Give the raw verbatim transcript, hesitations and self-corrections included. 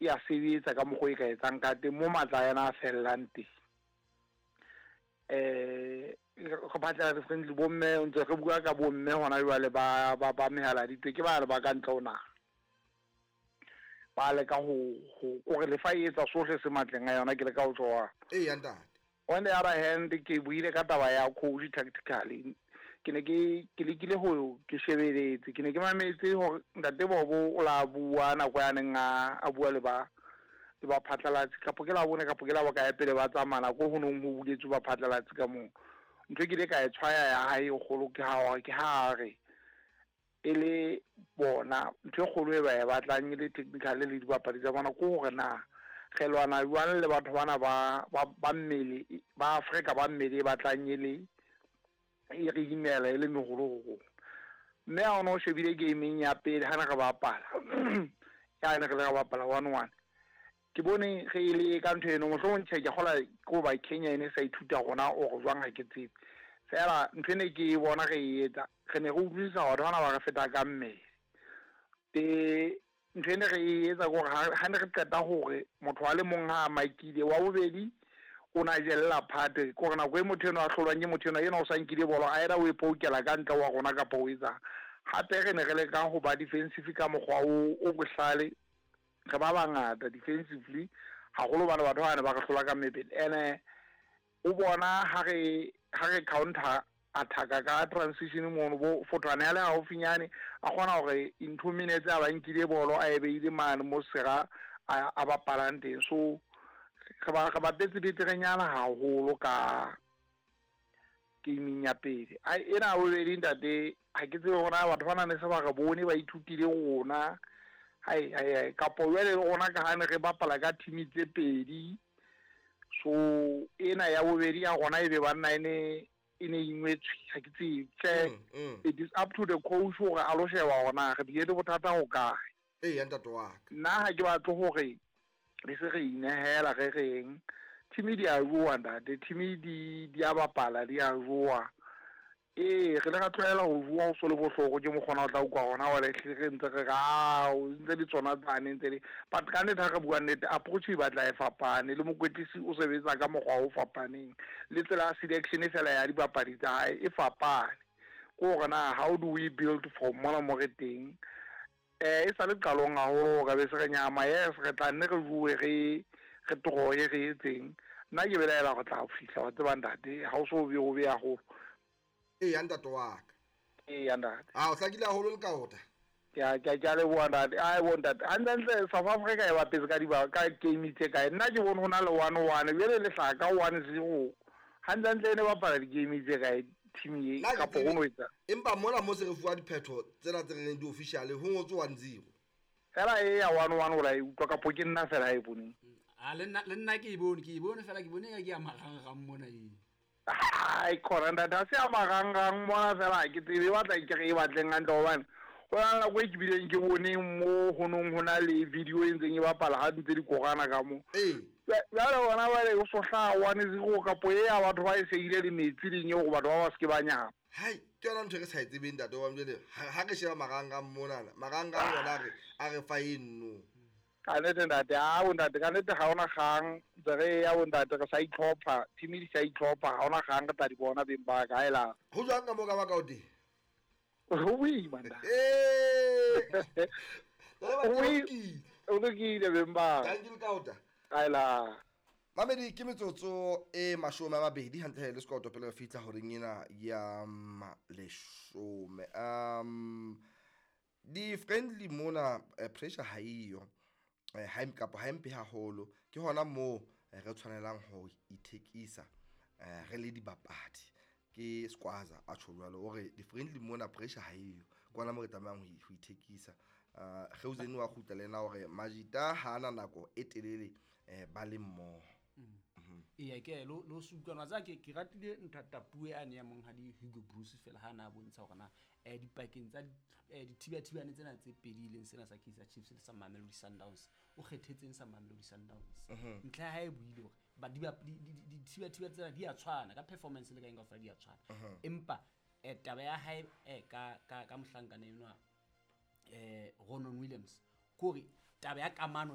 E a sebetsa ka mokgwa e ka etsang ka teng mo matla a yona a fellang teng. Eh re batla di-friendly bomme, ntse re bua ka bomme hona jwale ba ba ba mehala ditwe ke ba le ba ka ntle ho naha. Ba leka ho ho kore lefa e etsa sohle se matleng a yona, ke leka ho tjho. Eya, ntate. On the other hand, ke buile ka taba ya coach. Tactically ke ne ke ke lekile ho ke shebeletse, ke ne ke mametse hore ntate Bobo o la bua nako ya neng a a bua le ba le ba phatlalatsi, kapo ke la bone kapo ke la bokae pele ba tsamaya nako ho nong ho buletswe ba phatlalatsi ka moo. Ntho e ke ile ka e tshwaya ya hae e kgolo ke ha ke ha re e le bona ntho e kgolo e ba e batlang e le technical le dibapadi tsa bona ke hore na re lwana jwang le batho bana ba ba ba mmele ba Afrika ba mmele e batlang e le e re imela e le meholo ho rona. Mme ha ono shebile gameng ya pele ha ne re bapala ya ne re le re bapala one one, ke bone re ile ka ntho eno. Mohlomong tjhe, ke kgola ke hoba Kenya e ne sa ithuta rona or jwang, ha ke tsebe. Feela ntho ene ke e bona re e etsa, re ne re utlwisisa batho bana ba re feta ka mmele. E ntho ene re e etsa ke hore ha ne re qeta hore motho a le mong ha a makile, wa bobedi o na jella phate, ke hore nako e motho enwa a hlolwang ke motho enwa, enwa o sa nkile bolo, either o e poukela ka ntle wa rona kapa o etsang. Hape re ne re leka ho ba defensive ka mokgwa o o bohlale, re ba bangata defensively haholo bana batho ba ne ba re hlola ka mebele. Ene o bona ha re ha re counter attack ka transition mono, bo Fothwane a le haufinyane a kgona hore in two minutes a ba nkile bolo, a e beile mane mo sera a a bapalang teng. So re ba re bapetse beterenyana haholo ka gaming ya pele. Ai, ena bobedi ntate, ha ke tsebe hore na batho ba na ne se ba re bone ba ithutile rona. Hai hai hai, kapo jwale rona ka ha ne re bapala ka team tse pedi, so ena ya bobedi ya rona e be banna e ne e ne ingwetswe, ha ke tsebe tje. Mm, mm. It is up to the coach hore a lo sheba hore na re bile le bothata ho kae. Eya, ntate wa ka. Nna ha ke batle hore re se re inehela, re reng team di a jowa ntate, team di di a bapala, di a jowa. Ee, re le ra tlwaela ho jowa ho so le bohloko ke mokgona o tla utlwa hona wale re ntse re re ao ntse di tsona tsane ntse di, but ka nnete ha re bua nnete, approach e batla e fapane le mokwetlisi o sebetsa ka mokgwa o fapaneng le tsela ya selection fela ya dibapadi tsa hae e fapane. Ke hore na how do we build from mona mo re teng? Eh e sa le qalong haholo ka be se re nyama. Yes, re tla nne re bue, re re troye, re etseng. Nna ke belaela go tla fihla wa tseba ntate, ha o so be o be haholo. Eya, ntate wa ka. Eya, ntate. A o hlakile haholo le kaota. Ke a ke a ke a leboha ntate. Ai bo ntate, hantle South Africa e bapetse ka diba ka game tse kae? Nna ke bone ho na le one one, jwale le hlaha ka one zero. Hantle e ne bapala di-game tse kae team e Nna ke kapo tsebe. ho no etsa? Empa mona mo se re fuwa diphetho tsena tse reng di-official, ho ngotswe one zero. Fela e ya one one o la e utlwa kapo ke nna fela e boneng? A le nna le nna ke e bone, ke e bone fela, ke bone ka ke ya marangrang mona e. Ai khona ntate, ha se ya marangrang mona fela, ha ke tsebe e batla ke re e batleng hantle hobane ho na le nako e ke bileng ke boneng mo ho nong ho na le video e ntseng e bapala ha ntse di korana ka mo. Ee. Jwale bona jwale o so hlaha one zero kapo e ya batho ba e seile le metsi leng eo gore batho ba ba se ke ba nyama. Hai, ke yona ntho e re sa e tsebeng, ntate wa jwale ha ha re sheba marangrang monana, marangrang ona a re a re fa eno. Ka nnete ntate, a bo ntate, ka nnete ha ona kgang, ntse re ya bo ntate, re sa itlhopha, team di sa itlhopha, ha ona kgang, re tla di bona beng ba ka ela. Ho jwang ka mo ka baka o teng? Ho boima ntate. Ee. Ho boi- o lokile beng ba ka. Thank you, Kaota. Ela. Mamedi, ke metsotso e mashome a mabedi hantle le sekoto pele re fihla horeng ena ya mm, leshome. um di-friendly mona, eh, pressure ha eyo, eh, ha e- kapa ha e mpe haholo. Ke hona moo eh, re tshwanelang ho ithekisa eh, re le dibapadi. Ke Squaza a tjho jwalo, o re di-friendly mona pressure ha eyo, ke hona moo re tlamehang ho i- ho ithekisa. uh, Geuzeni wa kgutla le ena hore Majita ha ana nako e telele eh, ba le mmoho. Eya, ke lo lo se utlwana tsa ke ke ratile ntho puo ane ya monghadi Hugo Broos fela ha na bontsha hore na eh dipakeng tsa eh dithibathibane tsena tse pedi, e leng sena sa Kaizer Chiefs le sa Mamelodi Sundowns, o kgethetseng sa Mamelodi Sundowns. Ntlha ya hae e buile hore ba di ba- di- di- dithibathibane tsena di a tshwana ka performance le ka eng kaofela di a tshwana, empa eh taba ya hae eh ka ka ka mohlankana enwa eh Ronon Williams ke hore taba ya kamano.